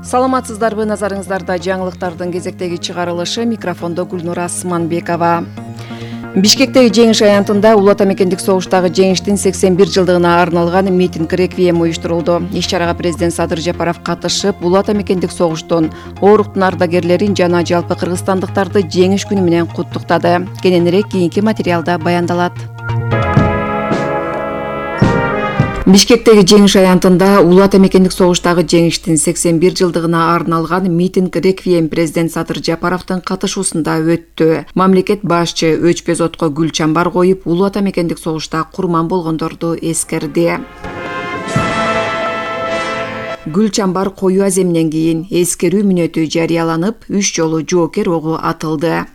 Саламатсыздарбы, назарыңыздарда жаңылыктардын кезектеги чыгарылышы, микрофондо Гүлнура Асманбекова. Бишкектеги жеңиш аянтында Улуу Ата мекендик согуштагы жеңиштин 81 жылдыгына арналган митинг реквием уюштурулду. Иш-чарага президент Садыр Жапаров катышып, Улуу Ата мекендик согуштун ооруктун ардагерлерин жана жалпы кыргызстандыктарды жеңиш күнү менен куттуктады. Кененирээк кийинки материалда баяндалат. Бишкектеги жеңиш аянтында Улуу Ата мекендик согуштагы жеңиштин 81 жылдыгына арналган митинг реквием президент Садыр Жапаровдун катышуусунда өттү. Мамлекет башчы өчпөз отко гүл чамбар коюп, Улуу Ата мекендик согушта курман болгондорду эскерди. Гүл чамбар коюу аземинен кийин эскерүү мүнөтү жарыяланып, 3 жолу жоокер огу атылды.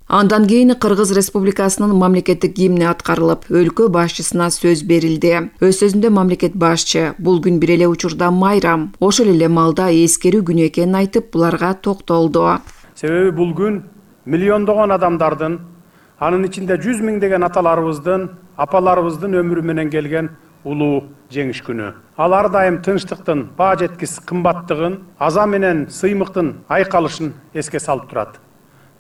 Андан кийин Кыргыз Республикасынын мамлекеттик гимни аткарылып, өлкө башчысына сөз берилди. Өз сөзүндө мамлекет башчы бул күн бир эле учурда майрам, ошол эле маалда эскерүү күнү экенин айтып, буларга токтолду. Себеби бул күн миллиондогон адамдардын, анын ичинде 100 миңдеген аталарыбыздын, апаларыбыздын өмүрү менен келген улуу жеңиш күнү. Ал ар дайым тынчтыктын баа жеткис кымбаттыгын, аза менен сыймыктын айкалышын эске салып турат.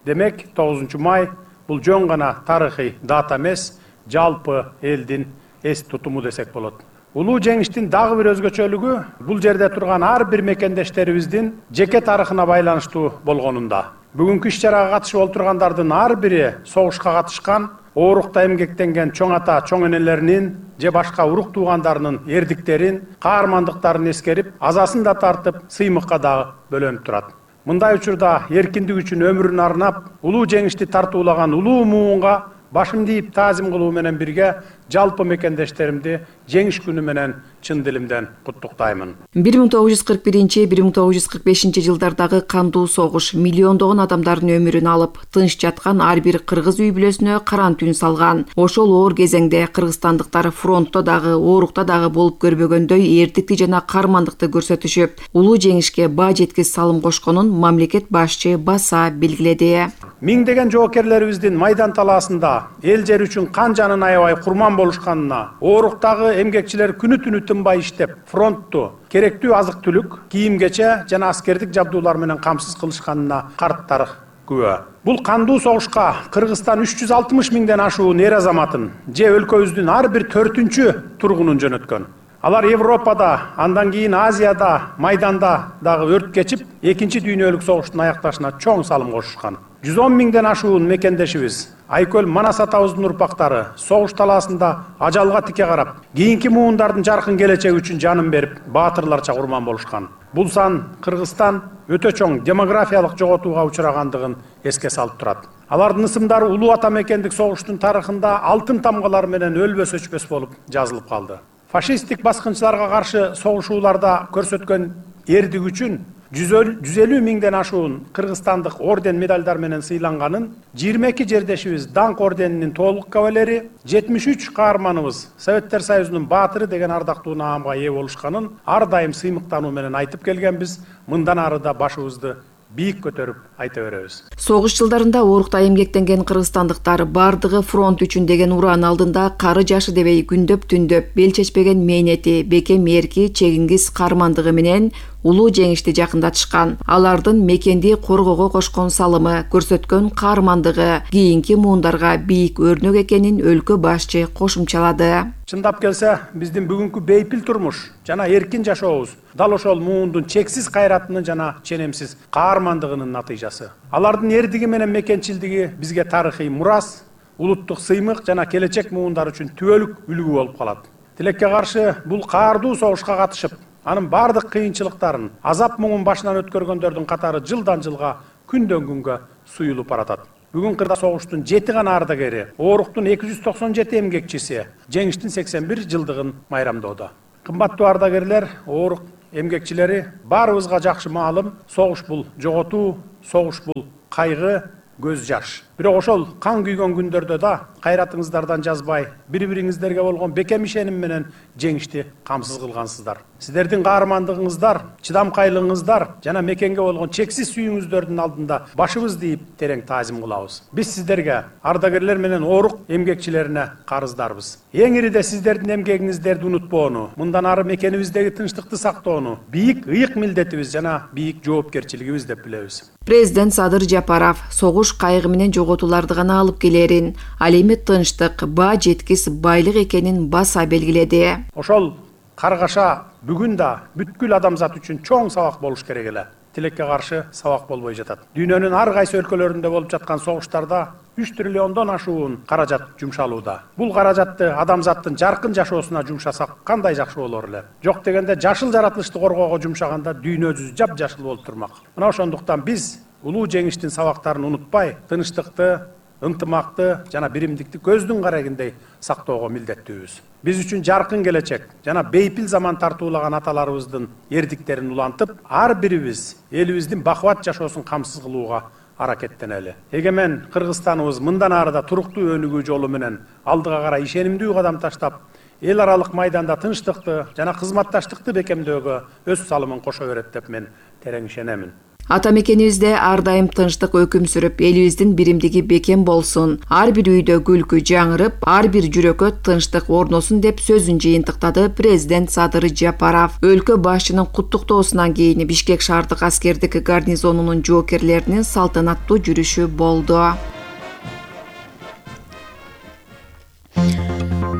Демек, 9 май бул жөн гана тарыхый дата эмес, жалпы элдин эс тутуму десек болот. Улуу жеңиштин дагы бир өзгөчөлүгү бул жерде турган ар бир мекендештерибиздин жеке тарыхына байланыштуу болгонунда. Бүгүнкү иш-чарага катышып олтургандардын ар бири согушка катышкан, оорукта эмгектенген чоң ата, чоң энелеринин же башка урук туугандарынын эрдиктерин, каармандыктарын эскерип, азасын да тартып, сыймыкка дагы бөлөнүп турат. Мындай учурда эркиндик үчүн өмүрүн арнап, улуу жеңишти тартуулаган улуу муунга башымды ийип таазим кылуу менен бирге жалпы мекендештеримди жеңиш күнү менен чын дилимден куттуктаймын. 1941-1945 жылдардагы кандуу согуш миллиондогон адамдардын өмүрүн алып, тынч жаткан ар бир кыргыз үй бүлөсүнө каран түн салган. Ошол оор кезеңде кыргызстандыктар фронтто дагы, оорукта дагы болуп көрбөгөндөй эрдикти жана каармандыкты көрсөтүшүп, улуу жеңишке баа жеткис салым кошконун мамлекет башчы баса белгиледи. Миңдеген жоокерлерибиздин майдан талаасында эл жер үчүн кан жанын аябай курман болушканына, ооруктагы эмгекчилер күнү-түнү тынбай иштеп, фронтту керектүү азык-түлүк, кийим-кече жана аскердик жабдуулар менен камсыз кылышканына карт тарых күбө. Бул кандуу согушка Кыргызстан 360 миңден ашуун эр азаматын же өлкөбүздүн ар бир 4-чү тургунун жөнөткөн. Алар Европада, андан кийин Азияда, майданда дагы өрт кечип, 2-чи дүйнөлүк согуштун аякташына чоң салым кошушкан. 110 миңден ашуун мекендешибиз, Айкөл Манас атабыздын урпактары согуш талаасында ажалга тике карап, кийинки муундардын жаркын келечеги үчүн жанын берип, баатырларча курман болушкан. Бул сан Кыргызстан өтө чоң демографиялык жоготууга учурагандыгын эске салып турат. Алардын ысымдары Улуу Ата мекендик согуштун тарыхында алтын тамгалар менен өлбөс өчпөс болуп жазылып калды. Фашисттик баскынчыларга каршы согушууларда көрсөткөн эрдик үчүн 150 миңден ашуун кыргызстандык орден медальдар менен сыйланганын, 22 жердешибиз Даңк орденинин толук кавалери, 73 каарманыбыз Советтер Союзунун баатыры деген ардактуу наамга ээ болушканын ар дайым сыймыктануу менен айтып келгенбиз. Мындан ары да башыбызды бийик көтөрүп айта беребиз. Согуш жылдарында оорукта эмгектенген кыргызстандыктар бардыгы фронт үчүн деген уран алдында кары жашы дебей күндөп түндөп бел чечпеген мээнети, бекем эрки, чегиңиз каармандыгы менен улуу жеңишти жакындатышкан. Алардын мекенди коргоого кошкон салымы, көрсөткөн каармандыгы кийинки муундарга бийик өрнөк экенин өлкө башчы кошумчалады. Чындап келсе, биздин бүгүнкү бейпил турмуш жана эркин жашообуз дал ошол муундун чексиз кайратынын жана ченемсиз каармандыгынын натыйжасы. Алардын эрдиги менен мекенчилдиги бизге тарыхый мурас, улуттук сыймык жана келечек муундар үчүн түбөлүк үлгү болуп калат. Тилекке каршы бул каардуу согушка катышып, анын бардык кыйынчылыктарын, азап муңун башынан өткөргөндөрдүн катары жылдан жылга, күндөн күнгө суюлуп баратат. Бүгүн Кыргызстан согуштун 7 гана ардагери, ооруктун 297 эмгекчиси жеңиштин 81 жылдыгын майрамдоодо. Кымбаттуу ардагерлер, оорук эмгекчилери, баарыбызга жакшы маалым, согуш бул жоготуу, согуш бул кайгы, көз жаш. Бирок ошол кан күйгөн күндөрдө да кайратыңыздардан жазбай, бири-бириңиздерге болгон бекем ишеним менен жеңишти камсыз кылгансыздар. Сиздердин каармандыгыңыздар, чыдамкайлыгыңыздар жана мекенге болгон чексиз сүйүүңүздөрдүн алдында башыбызды ийип терең таазим кылабыз. Биз сиздерге, ардагерлер менен оорук эмгекчилерине карыздарбыз. Эң ириде сиздердин эмгегиңиздерди унутпоону, мындан ары мекенибиздеги тынчтыкты сактоону бийик ыйык милдетибиз жана бийик жоопкерчилигибиз деп билебиз. Президент Садыр Жапаров согуш кайгы менен жоготууларды гана алып келерин, ал эми тынчтык, баа жеткис байлык экенин баса белгиледи. Ошол каргаша бүгүн да бүткүл адамзат үчүн чоң сабак болуш керек эле. Тилекке каршы сабак болбой жатат. Дүйнөнүн ар кайсы өлкөлөрүндө болуп жаткан согуштарда 3 триллиондон ашуун каражат жумшалууда. Бул каражатты адамзаттын жаркын жашоосуна жумшасак кандай жакшы болор эле. Жок дегенде жашыл жаратылышты коргоого жумшаганда дүйнө жүзү жап-жашыл болуп турмак. Мына ошондуктан биз улуу жеңиштин сабактарын унутпай, тынчтыкты, ынтымакты жана биримдикти көздүн карагындай сактоого милдеттүүбүз. Биз үчүн жаркын келечек жана бейпил заман тартуулаган аталарыбыздын эрдиктерин улантып, ар бирибиз элибиздин бакубат жашоосун камсыз кылууга аракеттенели. Эгемен Кыргызстаныбыз мындан ары да туруктуу өнүгүү жолу менен алдыга карай ишенимдүү кадам таштап, эл аралык майданда тынчтыкты жана кызматташтыкты бекемдөөгө өз салымын кошо берет деп мен терең ишенемин. Ата мекенибизде ар дайым тынчтык өкүм сүрүп, элибиздин биримдиги бекем болсун. Ар бир үйдө күлкү жаңырып, ар бир жүрөккө тынчтык орносун деп сөзүн жыйынтыктады президент Садыр Жапаров. Өлкө башчынын куттуктоосунан кийин Бишкек шаардык аскердик гарнизонунун жоокерлеринин салтанаттуу жүрүшү болду.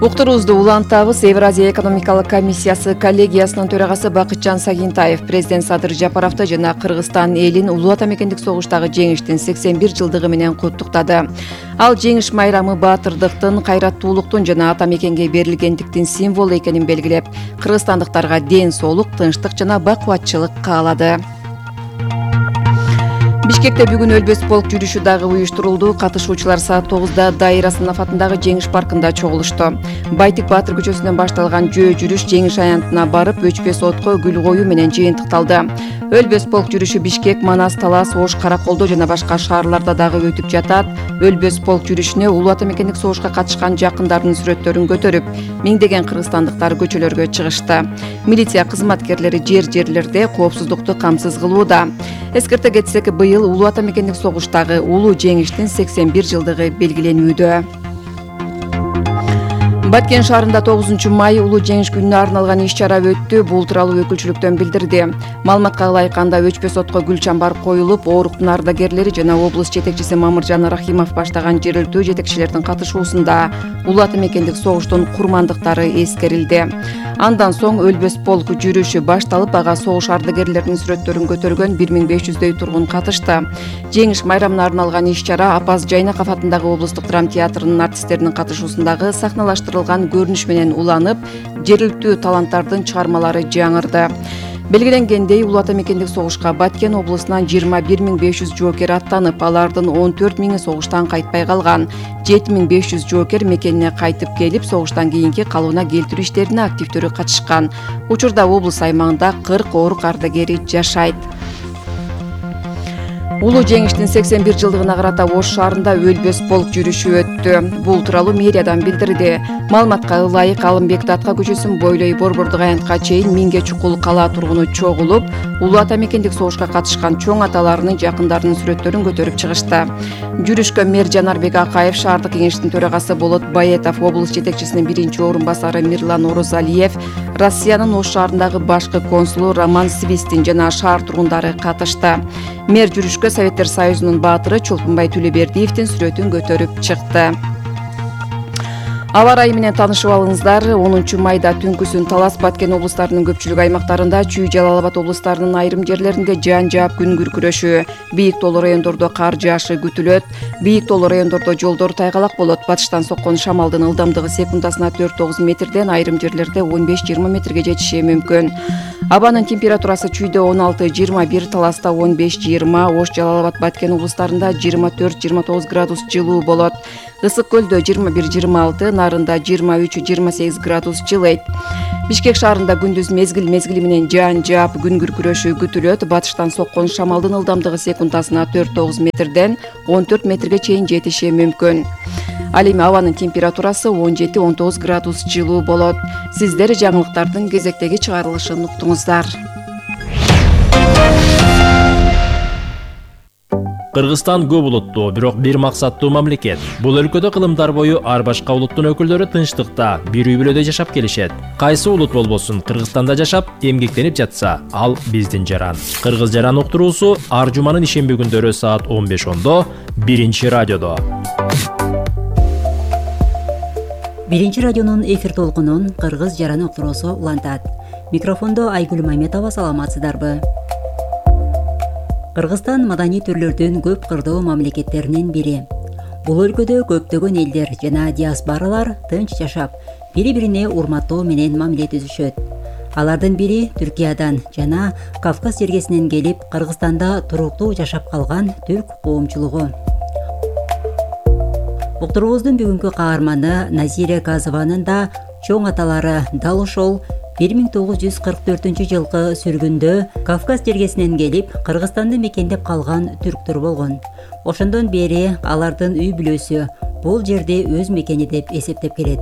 Уктуруубузду улантабыз. Евразия экономикалык комиссиясы коллегиясынын төрагасы Бакытжан Сагинтаев президент Садыр Жапаровду жана Кыргызстан элин улуу ата мекендик согуштагы жеңиштин 81 жылдыгы менен куттуктады. Ал жеңиш майрамы баатырдыктын, кайраттуулуктун жана ата мекенге берилгендиктин символу экенин белгилеп, кыргызстандыктарга ден соолук, тынчтык жана бакубатчылык каалады. Бишкекте бүгүн өлбөс полк жүрүшү дагы уюштурулду. Катышуучулар саат 9-да Дайыр Асанов атындагы Жеңиш паркында чогулушту. Байтик Баатыр көчөсүнөн башталган жөө жүрүш Жеңиш аянтына барып, өчпөс отко гүл коюу менен жыйынтыкталды. Өлбөс полк жүрүшү Бишкек, Манас, Талас, Ош, Караколдо жана башка шаарларда дагы өтүп жатат. Өлбөс полк жүрүшүнө улуу ата мекендик согушка катышкан жакындарынын сүрөттөрүн көтөрүп, миңдеген кыргызстандыктар көчөлөргө чыгышты. Милиция кызматкерлери жерлерде коопсуздукту камсыз кылууда. Эскерте кетсек, быйыл улуу ата мекендик согуштагы улуу жеңиштин 81 жылдыгы белгиленүүдө. Баткен шаарында 9 май улуу жеңиш күнүнө арналган иш-чара өттү. Бул тууралуу өкүлчүлүктөн билдирди. Маалыматка ылайыкканда өчпөс отко гүл чамбар коюлуп, ооруктун ардагерлери жана облус жетекчиси Мамыржан Рахимов баштаган жергиликтүү жетекчилердин катышуусунда улуу ата мекендик согуштун курмандыктары эскерилди. Андан соң өлбөс полк жүрүшү башталып, ага согуш ардагерлеринин сүрөттөрүн көтөргөн 1500дөй тургун катышты. Жеңиш майрамына арналган иш-чара Апаз Жайнаков атындагы облустук драма театрынын артисттеринин катышуусундагы сахналаштырылган көрүнүш менен уланып, жергиликтүү таланттардын чыгармалары жаңырды. Белгиленгендей, улуу ата мекендик согушка Баткен облусунан 21500 жоокер аттанып, алардын 14000 согуштан кайтпай калган. 7500 жоокер мекенине кайтып келип, согуштан кийинки калыбына келтирүү иштерине активдүү катышкан. Учурда облус аймагында 40 оорук ардагери жашайт. Улуу жеңиштин 81 жылдыгына карата Ош шаарында өлбөс полк жүрүшү өттү. Бул тууралуу мэриядан билдирди. Маалыматка ылайык, Алымбек Датка көчөсүн бойлой Борбордук аянтка чейин 1000ге чукул кала тургуну чогулуп, улуу ата мекендик согушка катышкан чоң аталарынын жакындарынын сүрөттөрүн көтөрүп чыгышты. Жүрүшкө мэр Жанарбек Акаев, шаардык кеңештин төрагасы Болот Баетов, облус жетекчисинин 1-орунбасары Мирлан Орозалиев, Россиянын Ош шаарындагы башкы консулу Роман Свистин жана шаар тургундары катышты. Мэр жүрүшкө Советтер Союзунун баатыры Чолпунбай Төлөбердиевдин сүрөтүн көтөрүп чыкты. Аба ырайы менен таанышып алыңыздар. 10 майда түнкүсүн Талас, Баткен облустарынын көпчүлүк аймактарында, Чүй, Жалал Абад облустарынын айрым жерлеринде жаан жаап күн күркүрөшү, бийик тоолуу райондордо кар жаашы күтүлөт. Бийик тоолуу райондордо жолдор тайгалак болот. Батыштан соккон шамалдын ылдамдыгы секундасына 4-9 метрден, айрым жерлерде 15-20 метрге жетиши мүмкүн. Абанын температурасы Чүйдө 16-21, Таласта 15-20, Ош, Жалал Абад, Баткен облустарында 24-29 градус жылуу болот. Ысык көлдө 21-26, Нарында 23-28 градус жылыйт. Бишкек шаарында күндүз мезгил менен жаан жаап күн күркүрөшү күтүлөт. Батыштан соккон шамалдын ылдамдыгы секундасына 4-9 метрден 14 метрге чейин жетиши мүмкүн. Ал эми абанын температурасы 17-19 градус жылуу болот. Сиздер жаңылыктардын кезектеги чыгарылышын уктуңуздар. Кыргызстан көп улуттуу, бирок бир максаттуу мамлекет. Бул өлкөдө кылымдар бою ар башка улуттун өкүлдөрү тынчтыкта, бир үй-бүлөдө жашап келишет. Кайсы улут болбосун, Кыргызстанда жашап, эмгектенип жатса, ал биздин жаран. Кыргыз жаран уктуруусу ар жуманын ишемби күндөрү саат 15:10 биринчи радиодо. Биринчи радионун эфир толкунун Кыргыз жаран уктуруусу улантат. Микрофондо Айгүл Маметова, саламатсыздарбы? Кыргызстан маданий түрлөрдүн көп кырдуу мамлекеттеринин бири. Бул өлкөдө көптөгөн элдер жана диаспоралар тынч жашап, бири-бирине урматтоо менен мамиле түзүшөт. Алардын бири Түркиядан жана Кавказ жергесинен келип, Кыргызстанда туруктуу жашап калган түрк коомчулугу. Уктуруубуздун бүгүнкү каарманы Назира Казованын да чоң аталары дал ошол 1944 жылкы сүргүндө Кавказ жергесинен келип, Кыргызстанды мекендеп калган түрктөр болгон. Ошондон бери алардын үй бүлөсү бул жерди өз мекени деп эсептеп келет.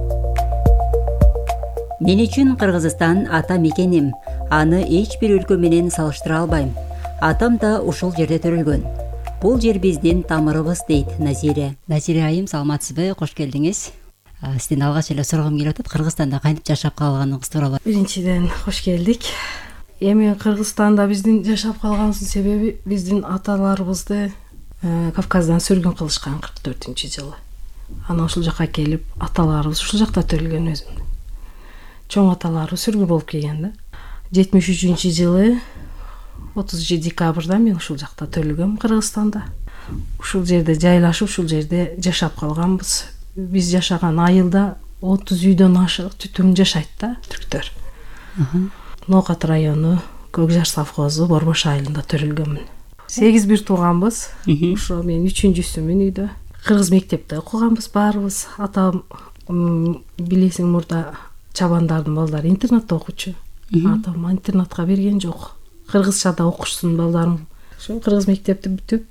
Мен үчүн Кыргызстан ата мекеним. Аны эч бир өлкө менен салыштыра албайм. Атам да ушул жерде төрөлгөн. Бул жер биздин тамырыбыз, дейт Назира. Назира айым, саламатсызбы? Кош келдиңиз. Сизден алгач эле сурагым келип атат, Кыргызстанда кантип жашап калганыгыз тууралуу. Биринчиден кош келдик. Эми Кыргызстанда биздин жашап калганыбыздын себеби биздин аталарыбызды Кавказдан сүргүн кылышкан 44-жылы. Анан ушул жака келип, аталарыбыз ушул жакта төрөлгөн өзүм. Чоң аталары сүргүн болуп келген да. 73-жылы 30 декабрда мен ушул жакта төрөлгөм Кыргызстанда. Ушул жерде жайлашып, ушул жерде жашап калганбыз. Биз жашаган айылда 30 үйдөн ашык түтүн жашайт да, түрктөр. Ноокат району, Көкжар совхозу, Борбош айылында төрөлгөмүн. 8 бир тууганбыз. Ошо мен 3-сүмүн үйдө. Кыргыз мектепте окуганбыз баарыбыз. Атам билесиң, мурда чабандардын балдары интернатта окучу. Атам интернатка берген жок. Кыргызча да окушсун балдарым. Ошо кыргыз мектепти бүтүп,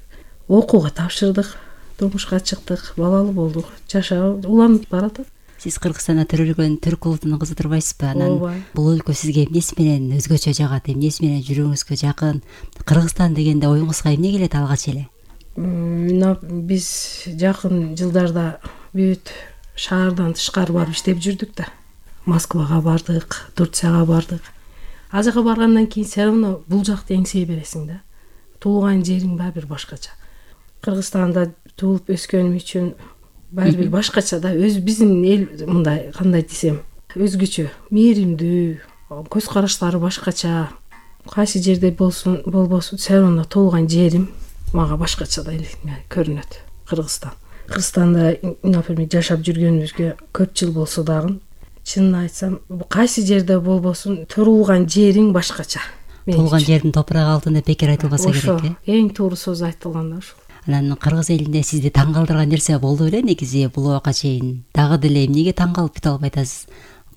окууга тапшырдык. Турмушка чыктык, балалуу болдук. Жашоо уланып баратат. Сиз Кыргызстанда төрөлгөн түрк улутунун кызы турбайсызбы? Анан бул өлкө сизге эмнеси менен өзгөчө жагат, эмнеси менен жүрөгүңүзгө жакын? Кыргызстан дегенде оюңузга эмне келет алгач эле? Биз жакын жылдарда бүт шаардан тышкары барып иштеп жүрдүк да. Москвага бардык, Турцияга бардык. Ал жака баргандан кийин все равно бул жакты эңсей бересиң да. Туулган жериң баары бир башкача. Кыргызстанда туулуп өскөнүм үчүн баары бир башкача да. Биздин эл мындай, кандай десем, өзгөчө, мээримдүү, көз караштары башкача. Кайсы жерде болбосун, все равно туулган жерим мага башкача да көрүнөт. Кыргызстанда, например, жашап жүргөнүбүзгө көп жыл болсо дагы, чынын айтсам, кайсы жерде болбосун, туулган жериң башкача. Туулган жердин топурагы алтын деп бекер айтылбаса керек, э? Эң туура сөз айтылган да ушул. Анан кыргыз элинде сизди таң калтырган нерсе болду беле негизи бул убакка чейин? Дагы деле эмнеге таң калып бүтө албай атасыз?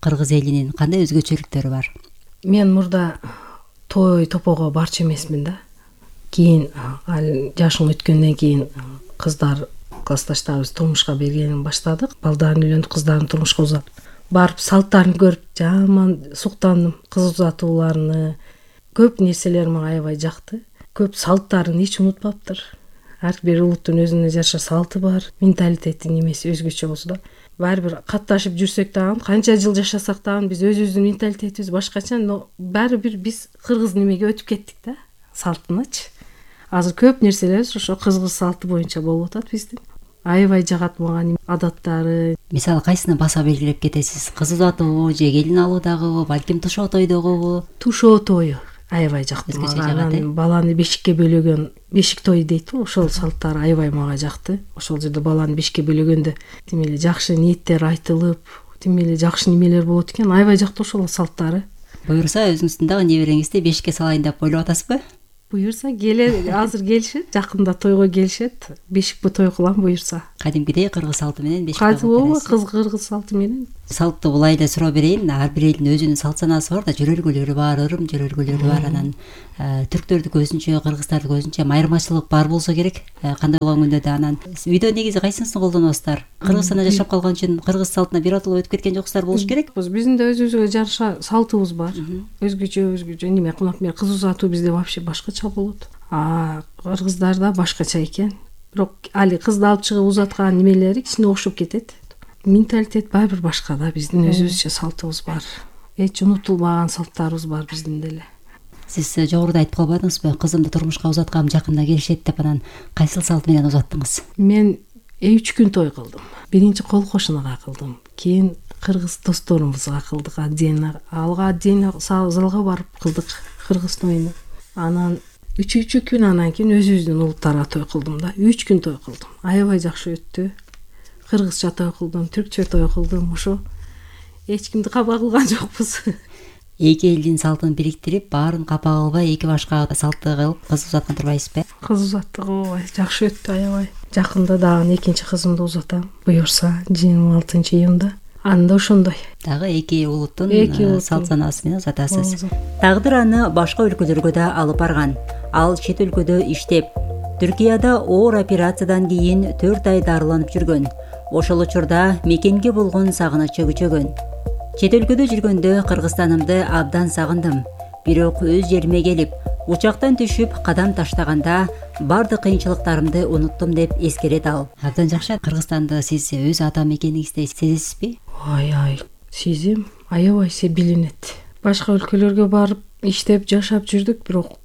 Кыргыз элинин кандай өзгөчөлүктөрү бар? Мен мурда той топого барчу эмесмин да. Кийин жашым өткөндөн кийин кыздар, классташтарыбыз турмушка бергенин баштадык. Балдарын үйлөндүк, кыздарын турмушка узатып. Барып салттарын көрүп жаман суктандым. Кыз узатууларны, көп нерселер мага аябай жакты. Көп салттарын эч унутпаптыр. Ар бир улуттун өзүнө жараша салты бар, менталитети немеси өзгөчө болсо да, баары бир катташып жүрсөк дагы, канча жыл жашасак дагы биз өзүбүздүн менталитетибиз башкача, но баары бир биз кыргыз немеге өтүп кеттик да, салтыныч. Азыр көп нерселер ошо кыргыз салты боюнча болуп атат биздин. Аябай жагат мага адаттары. Мисалы кайсыны баса белгилеп кетесиз? Кыз узатуу же келин алуудагыбы, балким тушоо тойдогубу? Тушоо тою аябай жакты мага. Анан баланы бешикке бөлөгөн, бешик той дейт, ошол салттар аябай мага жакты. Ошол жерде баланы бешикке бөлөгөндө тим эле жакшы ниеттер айтылып, тим эле жакшы немелер болот экен. Аябай жакты ошол салттары. Буюрса өзүңүздүн дагы небереңизди бешикке салайын деп ойлоп атасызбы? Буюрса азыр келишет, жакында тойго келишет. Бешикпи той кылам буюрса. Кадимкидей кыргыз салты менен бешикке. Кыргыз салты менен Салтты булай эле суроо берейин. Ар бир элдин өзүнүн салт санаасы бар да, жөрөлгөлөрү бар, ырым жөрөлгөлөрү бар. Анан түрктөрдүкү өзүнчө, кыргыздардыкы өзүнчө айырмачылык бар болсо керек. Кандай болгон күндө да анан үйдө негизи кайсынысын колдоносуздар? Кыргызстанда жашап калган үчүн кыргыз салтына биротоло өтүп кеткен жоксуздар болуш керек. Биздин да өзүбүзгө жараша салтыбыз бар. Өзгөчө неме, например, кыз узатуу бизде вообще башкача болот. Кыргыздарда башкача экен. Бирок али кызды алып чыгып узаткан немелери кичине окшоп кетет. Менталитет баары бир башка да. Биздин өзүбүзчө салтыбыз бар. Эч унутулбаган салттарыбыз бар биздин деле. Сиз жогоруда айтып калбадыңызбы, кызымды турмушка узаткам, жакында келишет деп, анан кайсыл салт менен узаттыңыз? Мен 3 күн той кылдым. Биринчи кол кошунага кылдым. Кийин кыргыз досторубузга кылдык, отдельно. Алга отдельно залга барып кылдык кыргыз тоюну. Анан 3 күн анан кийин өзүбүздүн улуттарга той кылдым да. 3 күн той кылдым. Аябай жакшы өттү. Кыргызча той кылдым, түркчө той кылдым. Ошо эч кимди капа кылган жокпуз. Эки элдин салтын бириктирип, баарын капа кылбай, эки башка салтты кылып кыз узаткан турбайсызбы? Кыз узаттык ооба жакшы өттү, аябай. Жакында дагы экинчи кызымды узатам. Буюрса 26-июнда. Анда ошондой. Дагы эки улуттун салт санаасы менен узатасыз. Тагдыр аны башка өлкөлөргө да алып барган. Ал чет өлкөдө иштеп, Түркияда оор операциядан кийин 4 ай дарыланып жүргөн. Ошол учурда мекенге болгон сагынычы күчөгөн. Чет өлкөдө жүргөндө Кыргызстанымды абдан сагындым. Бирок өз жериме келип, учактан түшүп кадам таштаганда бардык кыйынчылыктарымды уnuттум деп эскерет ал. Абдан жакшы. Кыргызстанды сиз өз ата мекениңизде сезесизби? Ай, сезим аябай билинет. Башка өлкөлөргө барып иштеп жашап жүрдүк, бирок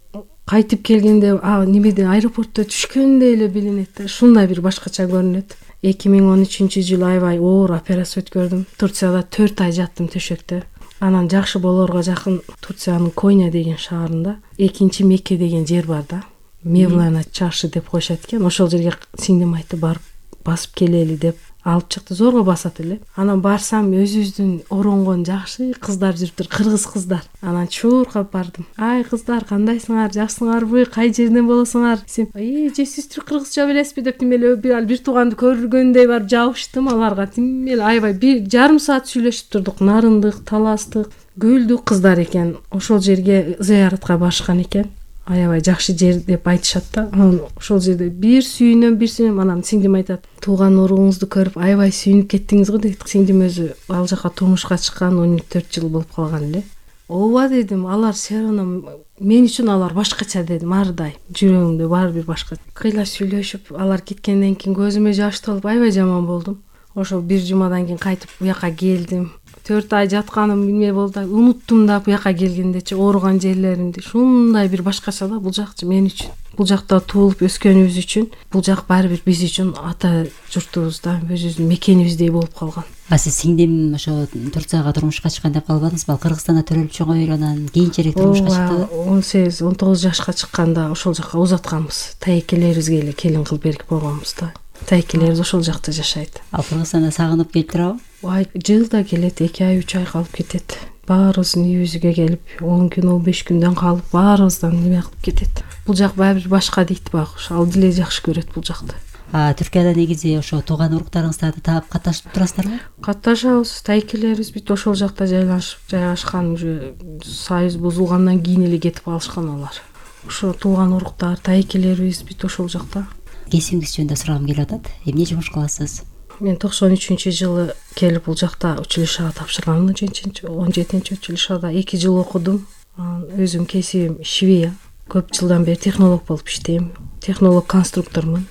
кайтып келгенде немеде аэропортто түшкөндөй эле билинет. Ушундай бир башкача көрүнөт. 2013-жылы аябай оор операция өткөрдүм. Турцияда 4 ай жаттым төшөктө. Анан жакшы болоорго жакын Турциянын Коnya деген шаарында экинчи Мекке деген жер бар да. Мевлана чаршы деп коюшат экен. Ошол жерге сиңдим айтты барып басып келели деп алып чыкты. Зорго басат эле. Анан барсам өзүбүздүн оронгон жакшы кыздар жүрүптүр, кыргыз кыздар. Анан чуркап бардым. Ай кыздар, кандайсыңар, жакшысыңарбы, кай жерден болосуңар? Сен, же сиз кыргызча билесизби деп тимеле бир тууганды көргөндөй барып жабыштым аларга. Тимеле аябай 1,5 саат сүйлөшүп турдук. Нарындык, таластык, көлдүк кыздар экен. Ошол жерге зыяратка барышкан экен. Аябай жакшы жер деп айтышат да. Анан ошол жерде бир сүйүнөм. Анан сиңдим айтат, тууган уруңузду көрүп аябай сүйүнүп кеттиңиз го дейт. Сиңдим өзү ал жака турмушка чыккан 14 жыл болуп калган эле. Ооба дедим, алар сероном мен үчүн алар башкача дедим, ардай. Жүрөгүмдө бар бир башка. Кыйла сүйлөшүп, алар кеткенден кийин көзүмө жаш толуп аябай жаман болдум. Ошол 1 жумадан кийин кайтып буяка келдим. 4 ай жатканым билме болду. Унуттум да буяка келгендечи ооруган жерлеримди. Ушундай бир башкача да бул жакчы мен үчүн. Бул жакта туулуп өскөнүбүз үчүн, бул жак баары бир биз үчүн ата журтубузда, өзүбүздүн мекенибиздей болуп калган. Сиз сиңдим ошо Турцияга турмушка чыккан деп калбадыңызбы? Кыргызстанда төрөлүп чоңоюп, анан кийинчерээк турмушка чыкты. 18-19 жашка чыкканда ошол жака узатканбыз. Тайкелерибизге эле келин кылып берип койгонбуз да. Тайкелерибиз ошол жакта жашайт. Ал Кыргызстанда сагынып келип турабы? Жылда келет, 2 ай 3 ай калып кетет. Баарыбыздын үйүбүзгө келип 10 күн 15 күндөн калып баарыбыздан неме кылып кетет. Бул жак баары бир башка дейт баг. Ал деле жакшы көрөт бул жакты. Түркияда негизи ошо тууган уруктарыңыздарды таап катташып турасыздарбы? Катташабыз. Тайкелерибиз бүт ошол жакта жайгашкан, уже союз бузулгандан кийин эле кетип алышкан алар. Ошо тууган уруктар, тайкелерибиз бүт ошол жакта. Кесибиңиз жөнүндө сурагым келип атат. Эмне жумуш кыласыз? Мен 93-жылы келип бул жакта училищага тапшырганмын. 17 училищада 2 жыл окудум. Өзүм кесибим швея. Көп жылдан бери технолог болуп иштейм. Технолог конструктормун.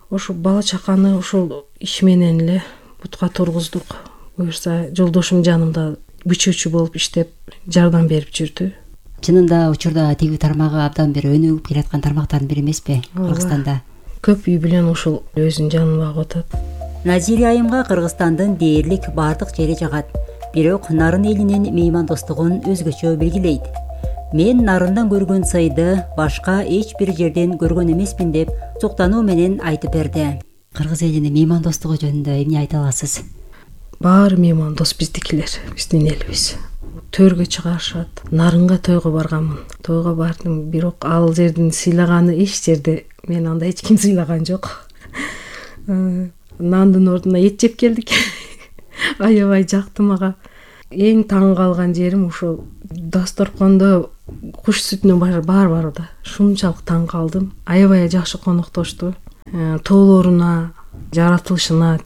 Ошо бала чаканы ошол иш менен эле бутка тургуздук. Буюрса жолдошум жанымда бичүүчү болуп иштеп жардам берип жүрдү. Чынында учурда тиги тармагы абдан бир өнүгүп келаткан тармактардын бири эмеспи Кыргызстанда? Көп үй бүлөнү ошол өзүнүн жанына багып атат. Назирия айымга Кыргызстандын дээрлик бардык жери жагат. Бирок Нарын элинин меймандостугун өзгөчө белгилейт. Мен Нарындан көргөн сыйды башка эч бир жерден көргөн эмесмин деп суктануу менен айтып берди. Кыргыз элинин меймандостугу жөнүндө эмне айта аласыз? Баары меймандос биздикилер, биздин элибиз. Төргө чыгарышат. Нарынга тойго барганмын. Тойго бардым, бирок ал жердин сыйлаганы эч жерде мен анда эч ким сыйлаган жок. Нандын ордуна эт жеп келдик. аябай жакты мага. Эң таң калган жерим ошол дасторкондо куш сүтүнүн бар да. Шунчалык таң калдым. Аябай жакшы коноктошту. Тоолоруна, жаратылышына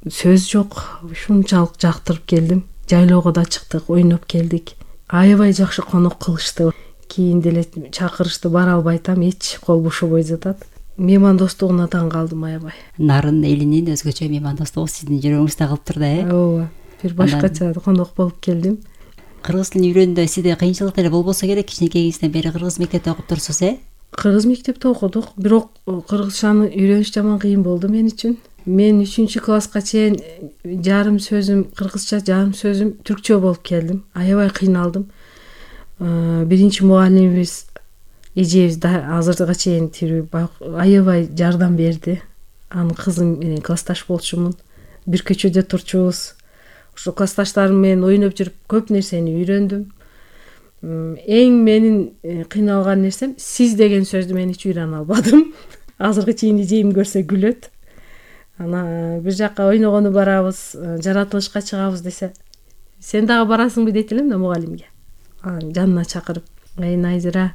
сөз жок. Шунчалык жактырып келдим. Жайлоого да чыктык, ойноп келдик. Аябай жакшы конок кылышты. Кийин деле чакырышты, бара албайтам, эч кол бошобой жатат. Меймандостугуна таң калдым аябай. Нарын элинин өзгөчө меймандостугу сиздин жүрөгүңүздө калып турду, Ооба. Бир башкача конок болуп келдим. Кыргыз тилин үйрөнгөндө сизде кыйынчылык деле болбосо керек. Кичинекейиңизден бери кыргыз мектепте окуп турсуз, Кыргыз мектепте окудук, бирок кыргызчаны үйрөнүш жаман кыйын болду мен үчүн. Мен 3-класска чейин жарым сөзүм кыргызча, жарым сөзүм түркчө болуп келдим. Аябай кыйналдым. Биринчи мугалимибиз эжебиз азырга чейин тирүү, аябай жардам берди. Анын кызы менен классташ болчумун. Бир көчөдө турчубуз. Ошо классташтарым менен ойноп жүрүп көп нерсени үйрөндүм. Эң менин кыйналган нерсем сиз деген сөздү мен эч үйрөнө албадым. Азыркы чейин эжем көрсө күлөт. Ана бир жакка ойногону барабыз, жаратылышка чыгабыз десе, сен дагы барасыңбы дейт элем да мугалимге. Жанына чакырып, Найзира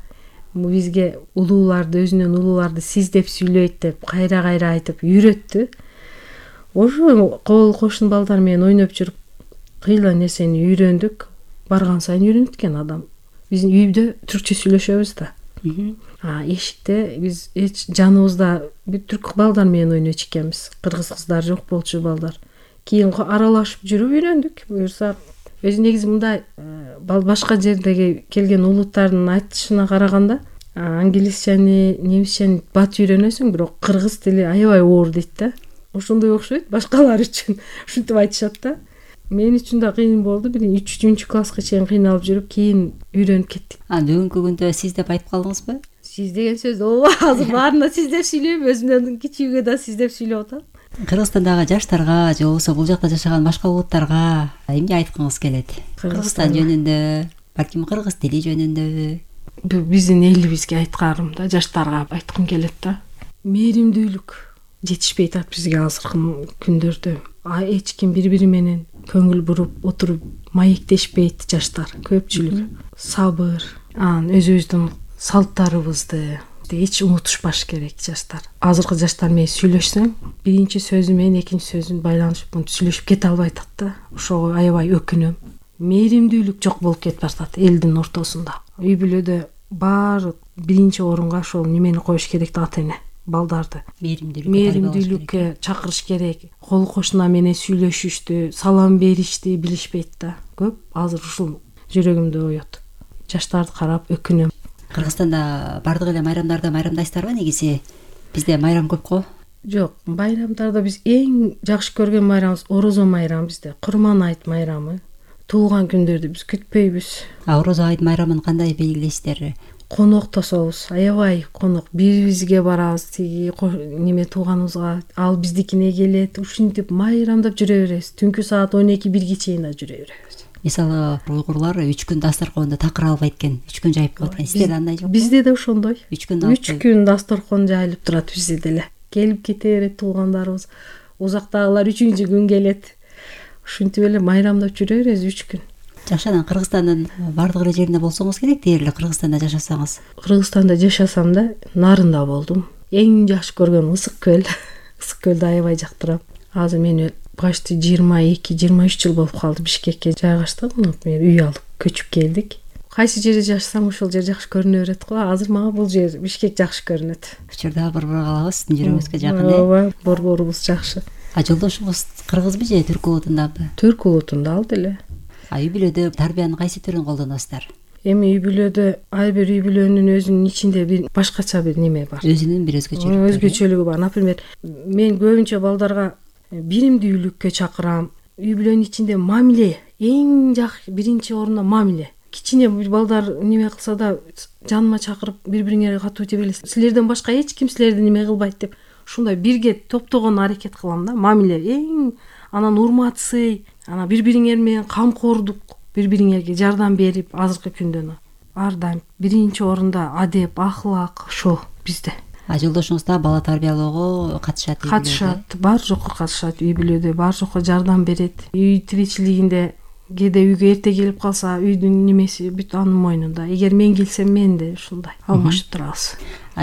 бизге улууларды, өзүнөн улууларды сиз деп сүйлөйт деп кайра айтып үйрөттү. Ошо кол кошун балдар менен ойноп жүрүп кыйла нерсени үйрөндүк. Барган сайын үйрөнүп кеткен адам. Биздин үйдө түркчө сүйлөшөбүз да. Эшикте биз жаныбызда бир түрк балдар менен ойночу экенбиз. Кыргыз кыздар жок болчу балдар. Кийин аралашып жүрүп үйрөндүк. Буюрса өзү негизи мындай башка жердеги келген улуттардын айтышына караганда англисчени, немисчени бат үйрөнөсүң, бирок кыргыз тили аябай оор дейт да. Ошондой окшойт башкалар үчүн. Ушинтип айтышат да. Мен үчүн да кыйын болду. 3-класска чейин кыйналып жүрүп, кийин үйрөнүп кеттик. Бүгүнкү күндө сиз деп айтып калдыңызбы? Сиз деген сөз азыр баарына сиз деп сүйлөйм, өзүмдөн кичүүгө да сиз деп сүйлөп атам. Кыргызстандагы жаштарга же болбосо бул жакта жашаган башка улуттарга эмне айткыңыз келет? Кыргызстан жөнүндө, балким кыргыз тили жөнүндөбү? Биздин элибизге айткарым да, жаштарга айткым келет да. Мээримдүүлүк жетишпей атат бизге азыркы күндөрдө. Эч ким бири-бири менен көңүл буруп отуруп маектешпейт жаштар, көпчүлүк. Сабыр, өзүбүздүн салттарыбызды эч унутушпаш керек жаштар. Азыркы жаштар менен сүйлөшсөң, биринчи сөзү менен экинчи сөзүн байланышып сүйлөшүп кете албай атат да. Ошого аябай өкүнөм. Мээримдүүлүк жок болуп кетип атат элдин ортосунда. Үй бүлөдө баары биринчи орунга ошол немени коюш керек да, ата-эне балдарды. Мээримдүүлүккө чакырыш керек. Кол кошуна менен сүйлөшүштү, салам беришти билишпейт да. Көп азыр ушул жүрөгүмдө оёт. Жаштарды карап өкүнөм. Кыргызстанда бардык эле майрамдарды майрамдайсыздарбы негизи? Бизде майрам көп го. Жок, майрамдарда биз эң жакшы көргөн майрамыбыз Орозо майрамы бизде. Курман айт майрамы. Туулган күндөрдү биз күтпөйбүз. Орозо айт майрамын кандай белгилейсиздер? Коноктособуз, аябай конок. Бирибизге барабыз, тиги неме тууганыбызга, ал биздикине келет. Ушинтип майрамдап жүрө беребиз. Түнкү саат 12-1 чейин жүрө беребиз. Мисалы, уйгурлар 3 күн дасторконду такыр албайт экен, 3 күн жайып коет экен. Сизде андай жокпу? Бизде да ошондой. 3 күн дасторкон жайылып турат бизде деле. Келип кете берет туулгандарыбыз. Узактагылар 3-күн келет. Ушинтип эле майрамдап жүрө беребиз 3 күн. Жакшы, анан Кыргызстандын бардык эле жеринде болсоңуз керек, дээрле Кыргызстанда жашасаңыз. Кыргызстанда жашасам да, Нарында болдум. Эң жакшы көргөнүм Ысык көл. Ысык көлдү аябай жактырам. Азыр мен почти 22-23 жыл болуп калды Бишкекке жайгаштык. Мен үй алып көчүп келдик. Кайсы жерде жашасам ошол жер жакшы көрүнө берет го. Азыр мага бул жер Бишкек жакшы көрүнөт. Учурда борбор калабыз, сиздин жүрөгүңүзгө жакын. Ооба, борборубуз жакшы. Жолдошуңуз кыргызбы же түрк улутундабы? Түрк улутунда ал деле. Үй бүлөдө тарбиянын кайсы түрүн колдоносуздар? Эми үй бүлөдө ар бир үй бүлөнүн өзүнүн ичинде бир башкача бир неме бар. Өзүнүн бир өзгөчөлүгү бар. Например, мен көбүнчө балдарга биримдүүлүккө чакырам. Үй бүлөнүн ичинде мамиле, эң жакшы биринчи орунда мамиле. Кичине балдар неме кылса да жаныма чакырып, бири-бириңерге катуу тебе элесиз. Силерден башка эч ким силерди неме кылбайт деп, ушундай бирге топтогон аракет кылам да. Мамиле эң, анан урмат сый, анан бири-бириңер менен камкордук, бири-бириңерге жардам берип, азыркы күндөн ар дайым биринчи орунда адеп, ахлак ошол бизде. Жолдошуңуз да бала тарбиялоого катышат? Катышат, бар жокко катышат, үй бүлөдө бар жокко жардам берет. Үй тиричилигинде кээде үйгө эрте келип калса, үйдүн немеси бүт анын мойнунда. Эгер мен келсем мен да ушундай алмашып турабыз.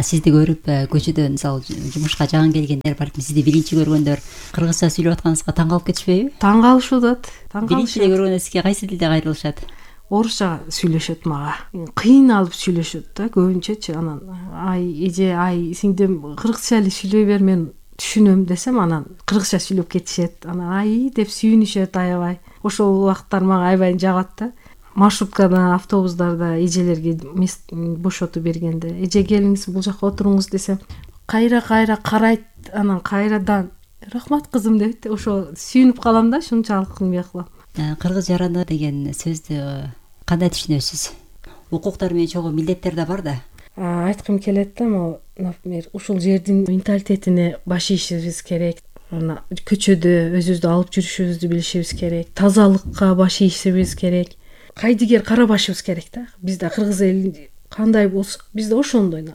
Сизди көрүп көчөдө мисалы жумушка жагын келгендер, балким сизди биринчи көргөндөр кыргызча сүйлөп атканыңызга таң калып кетишпейби? Таң калышып атат. Биринчи эле көргөндө сизге кайсы тилде кайрылышат? Орусча сүйлөшөт мага. Кыйналып сүйлөшөт да көбүнчөчү. Анан ай эже, ай сиңдим кыргызча эле сүйлөй бер, мен түшүнөм десем, анан кыргызча сүйлөп кетишет. Анан ай деп сүйүнүшөт аябай. Ошол убакыттар мага аябай жагат да. Маршруткада, автобустарда эжелерге бошотуп бергенде, эже келиңиз бул жакка отуруңуз десем, кайра карайт, анан кайрадан рахмат кызым дейт. Ошо сүйүнүп калам да, ушунчалык неме кылам. Кыргыз жараны деген сөздү кандай түшүнөсүз? Укуктар менен чогуу милдеттер да бар да. Айткым келет да, могу, например, ушул жердин менталитетине баш ийишибиз керек. Көчөдө өзүбүздү алып жүрүшүбүздү билишибиз керек. Тазалыкка баш ийишибиз керек. Кайдыгер карабашыбыз керек да. Бизде кыргыз эли кандай болсо, бизде ошондой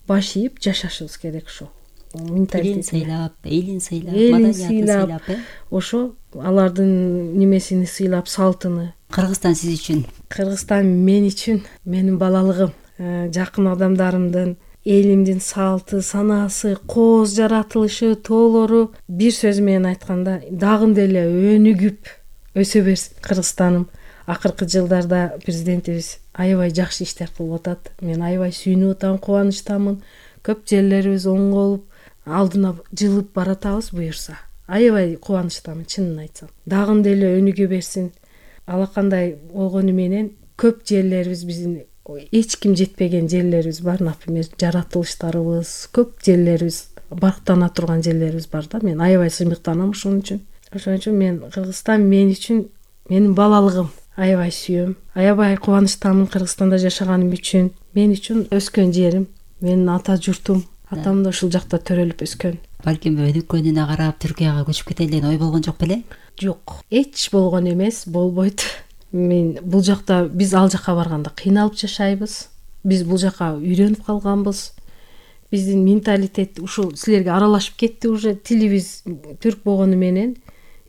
баш ийип жашашыбыз керек. Ошо элин сыйлап, элин сыйлап, элин маданиятын сыйлап, ошо алардын немесини сыйлап, салтыны. Кыргызстан сиз үчүн? Кыргызстан мен үчүн менин балалыгым, жакын адамдарымдын, элимдин салты, санаасы, кооз жаратылышы, тоолору. Бир сөз менен айтканда, дагы деле өнүгүп өсө берсин Кыргызстаным. Акыркы жылдарда президентибиз аябай жакшы иштер кылып атат. Мен аябай сүйүнүп атам, кубанычтамын. Көп жерлерибиз оңголуп, алдына жылып баратабыз буюрса. Аябай кубанычтамын, чынын айтсам. Дагы деле өнүгө берсин. Алакандай болгону менен көп жерлерибиз, биздин эч ким жетпеген жерлерибиз бар, например, жаратылыштарыбыз, көп жерлерибиз, барктана турган жерлерибиз бар да. Мен аябай сыймыктанам ошон үчүн. Ошон үчүн мен Кыргызстан мен үчүн менин балалыгым. Аябай сүйөм, аябай кубанычтамын Кыргызстанда жашаганым үчүн. Мен үчүн өскөн жерим, менин ата журтум. Атам да ушул жакта төрөлүп өскөн. Балким өнүккөнүнө карап Түркияга көчүп кетели деген ой болгон жок беле? Жок, эч болгон эмес, болбойт. Мен бул жакта, биз ал жака барганда кыйналып жашайбыз. Биз бул жака үйрөнүп калганбыз. Биздин менталитет ушул силерге аралашып кетти уже. Тилибиз түрк болгону менен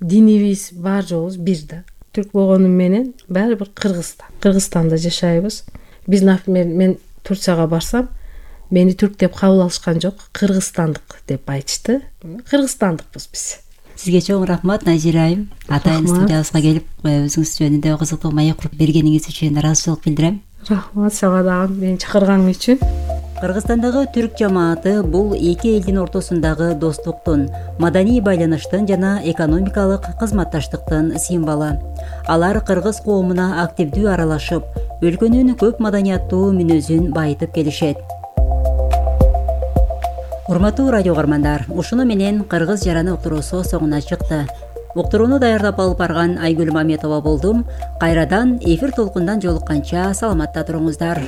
динибиз бар жообуз бир да. Түрк болгону менен баары бир Кыргызстанда жашайбыз. Биз, например, мен Турцияга барсам, мени түрк деп кабыл алышкан жок, кыргызстандык деп айтышты. Кыргызстандыкпыз биз. Сизге чоң рахмат, Назира айым. Атайын студиябызга келип, өзүңүз жөнүндө кызыктуу маек куруп бергениңиз үчүн ыраазычылык билдирем. Рахмат сага дагы мени чакырганың үчүн. Кыргызстандагы түрк жамааты бул эки элдин ортосундагы достуктун, маданий байланыштын жана экономикалык кызматташтыктын символу. Алар кыргыз коомуна активдүү аралашып, өлкөнүн көп маданияттуу мүнөзүн байытып келишет. Урматтуу радио угармандар, ушуну менен Кыргыз жараны уктуруусу соңуна чыкты. Уктурууну даярдап алып барган Айгүл Маметова болдум. Кайрадан эфир толкундан жолукканча саламатта туруңуздар.